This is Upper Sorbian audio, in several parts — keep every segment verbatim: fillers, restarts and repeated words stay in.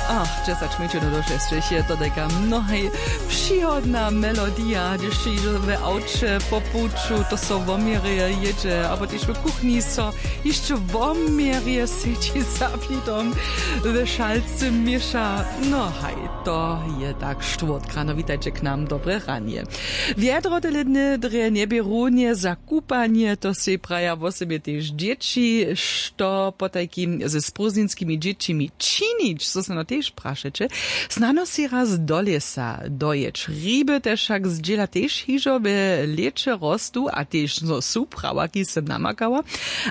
Ach, dźesać mjeńšinow do šesćich je to tajka mnohaj přihodna melodija, hdyž hižo w awće po puću to so woměrje jědźe abo tež w kuchni so hišće woměrje sedźi za plidom, w šalcy měša. No haj, to je tak štwórtk rano. Witajće k nam, dobre ranje. Wjedro tele dny drje njebě runje za kupanje, to sej praja wosebje tež dźěći. Što potajkim ze sprózdninskimi dźěćimi činić, so snano tež prašeće? Snano sej raz do lěsa dojěć. Hriby te wšak zdźěla tež hižo we lěće rostu a tež zo su prawaki sym namakała.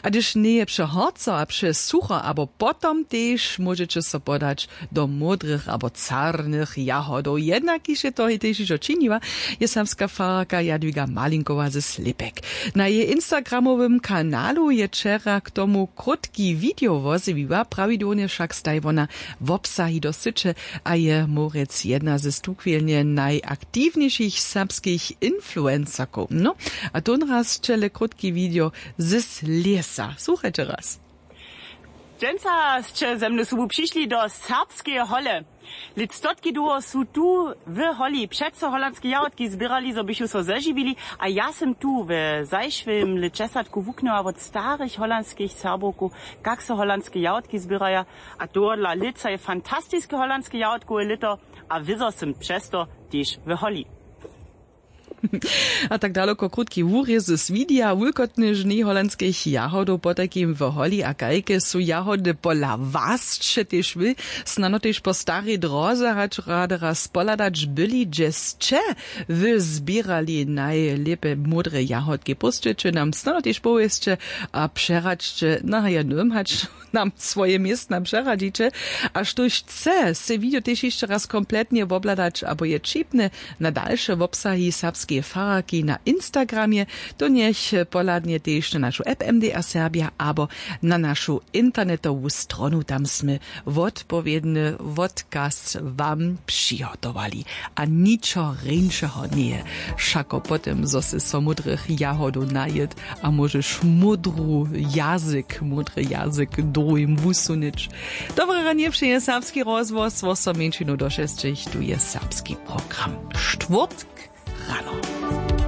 A hdyž njeje přehorco a přesucho abo potom, tež móžeće so podać do módrych abo carnych jahodow. Jednak kiž je to tež hižo činiła, je serbska fararka Jadwiga Malinkowa ze Slěpek. Na jeje instagramowym kanalu je wčera k tomu krótki video wozjewiła. Prawidłownje wšak staj wona wobsahi do syće a je móhrjec jedna ze tuchwilnje najaktiwnjejšich serbskich influencerkow. No, a tónraz ćele krótki video z lěsa. Słuchajće raz. Dźensa sće ze mnu sobu přišli do serbskeje hole. Lět stotki dołho su tu w holi přeco holandske jahodki zběrali, zo bychu so zežiwili. A ja sym tu w zašłym lětdźesatku wuknyła wot starych holandskich Serbowkow, kak so holandske jahodki zběraja. A tohodla lětsa je fantastiske holandske jahodkowe lěto. A wězo sym přez to tež w holi. A tak daloko krótki wurězy swidija wulkotny žnej holandskich jahodow potajkim w holi a kajke su jahody pola was, sće tež wy snano tež po starej dróze hač rady raz pohladać byli, hdźe sće wy zběrali najlěpje módre jahodki? Pósćeće nam snano tež powěsće a přeradźće na jednym hač nam swoje městna přeradźiće. A štóž chce sej video tež hišće raz kompletnje wobhladać abo je ćipny na dalše wobsahi serbskeje fararki na instagramje, to njech pohladnje tež na našu app mdr serbja abo na našu internetowu stronu. Tam smy wotpowědny wotkaz wam přihotowali. A ničo rjeńšeho njeje wšako po tym, zo sy so módrych jahodow najěd a móžeš módru jazyk módry jazyk druhim wusunyć. Dobre ranje přeje serbski rozhłos, wo so mjeńšinu do šesćich. Tu je serbski program. Štwórtk